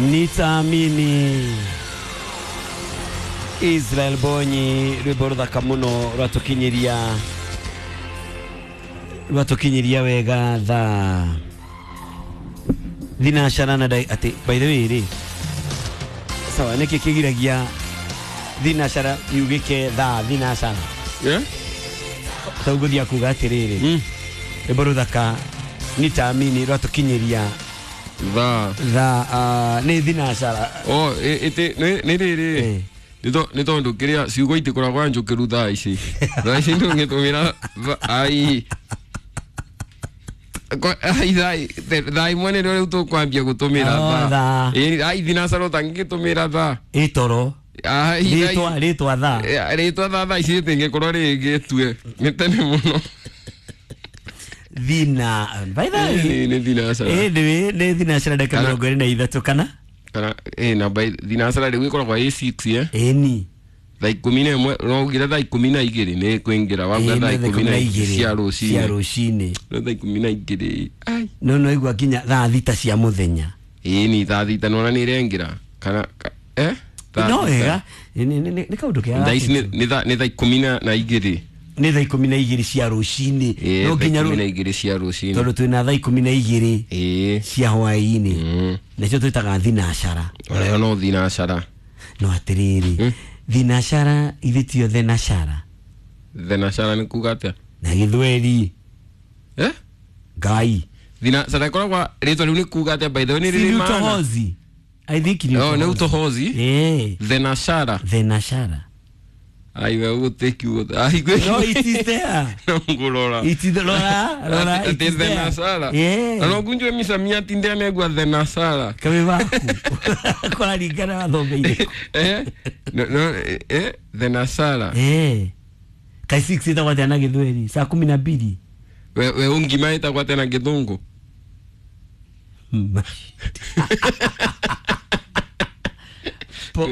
Nitaamini. Israel Bonyi, rwimbo ruthaka muno rwatukinyiria wega thaa thinacara na ati by the way ri sawa niki kigiragia thinacara yugike thaa thinacara. Yeah? Tauguthia kuga atiriri, rwimbo ruthaka nitaamini rwatukinyiria thaa thaa ni thinacara. Oh, ite ni riri nä tondå kä rä a ciugo itikoragwa njå kä ru thaa ici, thaa ici ndå ngä tå mä ra ai thaa imwe nä rä o rä u tå kwambia gå tå mä ra thaa. Ai thinacara å tangä gä tå mä ra thaa. Ä toro rä twa thaa. Rä twa thaa, thaa ici rä tingä korwo rä gä tue nä tene må no. Thina by the way nä thinacara. Ä nä thinacara ndagä 23 kana kana namba thinacara rä u ä koragwo ä 6. Ĩni. Thaa 11 no ugire thaa 12 nä kwä wauga thaa 12 cia rå cia cinä rũcinĩ. No thaa 12 ai. No igua nginya thaa 6 cia mũthenya. Ĩni thaa 6 nona nä irengä ra kana thaa no 6. Wega nĩ kaũndũ kega. Thaa ici nä thaa 12. Nĩ thaa 12 cia rũcinĩ. No thaa nginya 12 cia rå cinä. Tondũ twĩna thaa 12 cia hwaĩ-inĩ, nacio twĩtaga thinacara. Onayo no thinacara. No atĩrĩrĩ, thinacara ithe tio thenashara? Thenashara nä kuga atä? Na gĩthweri. A Ngai. Thinacara ĩkoragwa rĩtwa rĩu nĩ kuga atĩa, by the way, nĩ Si rĩrĩ ni maana? utohozi, I think ni Oh, nĩ utohozi. utohozi. Thenashara. Thenashara. Aiwe gũtĩ kiugo ai. No, it is there. No ngũrora. It is, rora rora, it Atĩ is there. thenashara. Na no ngunjwe misamiati ndĩa thenashara. Kawe waku kũraringana wathomeire. No no thenashara. Kai 6 ĩtagwo atĩa na gĩthweri? Saa 12. We ungima ĩtagwo atĩa na gĩthũngũ? Po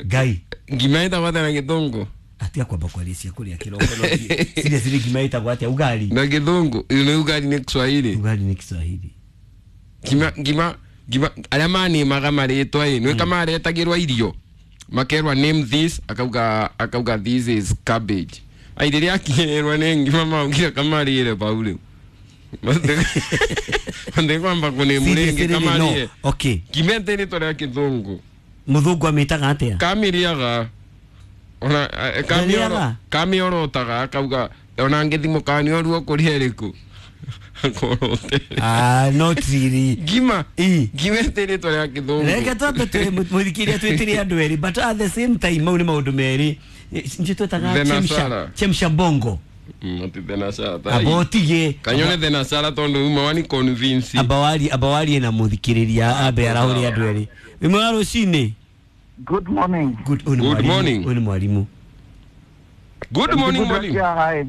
Ngai. Ngima ĩtagwo atĩa na gĩthũngũ? Atia kwamba kwaria cia kũrĩa kĩroko no seriously, ngima ĩtagwo atĩa? Ugali. Na gĩthũngũ nĩ ugali nĩ Kiswahili. Ugali nĩ Kiswahili. Ngima, ngima, ngima, arĩa manĩmaga marĩtwa ĩ nĩ kamaretagĩrwo irio makerwa "Name this", akauga "This is cabbage". Ai rĩrĩa akinyĩrwo nĩ ngima maugire kamarĩre bau rĩu matikwamba kũnĩmu rĩngĩ. Seriously, no. Kamarĩre. Okay. Ngima ĩtĩ rĩtwa rĩa kĩthũngũ. Mũthũngũ amĩtaga atĩa? Kamĩrĩaga ona Ndarĩaga? Kamĩorotaga akauga ona ngĩthimũ kanĩoruo kũrĩa ĩrĩkũ akorote. Ah, not really. Ngima. Ĩ. Ngima ĩtĩ rĩtwa rĩa kĩthũngũ. Reke twambe mũthikĩria twĩtĩre andũ erĩ, but at the same time mau nĩ maũndũ merĩ nĩ twĩtaga Thenashara. chemsha chemsha bongo. Ati thenashara. Amba ũtige. Kanyone thenashara tondũ uma wani convince. Amba warie na mũthikĩrĩria ambe arahũre andũ erĩ ĩmwe wa rũcinĩ. Good morning. Good, ũyũ nĩ Good mwarimu. morning. Ũyũ nĩ mwarimũ. Good morning, mwalimu. Hai.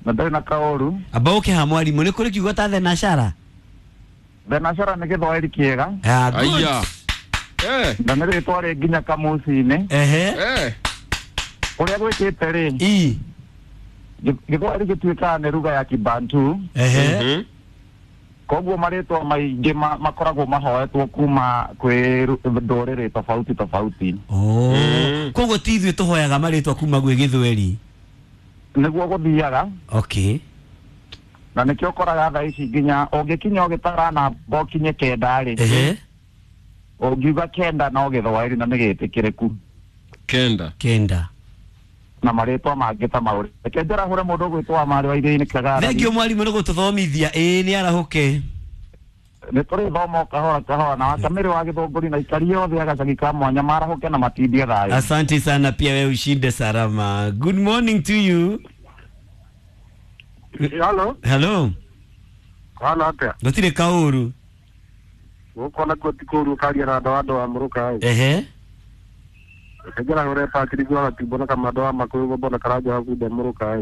Na ndarĩ na kaũru. Amba ũke ha mwarimũ, nĩ kũrĩ kiugo ta thenashara? Thenashara nĩ gĩthwaĩri kĩega. Ah, good. Aya. Na nĩ rĩtwa rĩ nginya kamuci-inĩ. Ũrĩa gwĩkĩte rĩ, gĩthwaĩri gĩtuĩkaga nĩ ruga ya Kibantu. Koguo marĩtwa maingĩ makoragwo mahoetwo kuma kwĩ ndũrĩrĩ tofauti tofauti. Oh. Koguo ti ithuĩ tũhoyaga marĩtwa kuma gwĩ gĩthweri? Nĩguo gũthiaga. Na nĩkĩo ũkoraga thaa ici nginya ũngĩkinya ũgĩtara namba ũkinye 9 rĩ, ũngiuga 9 no gĩthwaĩri na nĩ gĩtĩkĩrĩku. 9. 9. Na marĩtwa mangĩ ta mau. Reke njarahũre mũndũ ũgwĩtwo wa marĩ wa iria-inĩ Kagara. Thengio mwarimũ nĩ gũtũthomithia, ĩĩ nĩ arahũke. Nĩ tũrĩthoma o kahora kahora na wakamĩrĩ wa gĩthũngũri na ikari othe a gacagi ka mwanya marahũke na matindie thayũ. Asante sana, pia wewe ushinde salama. Good morning to you. Halo, Hello. halo atia? Gũtirĩ kaũru. Gũkũ nakuo ti kũũru ũkaria na andũ wa mũrũka ĩ. Reke njarahũre Patrick wa Gatimbo na Kamando wa Makũyũ Gombo na Karanja wa Bunda mũrũka ĩ.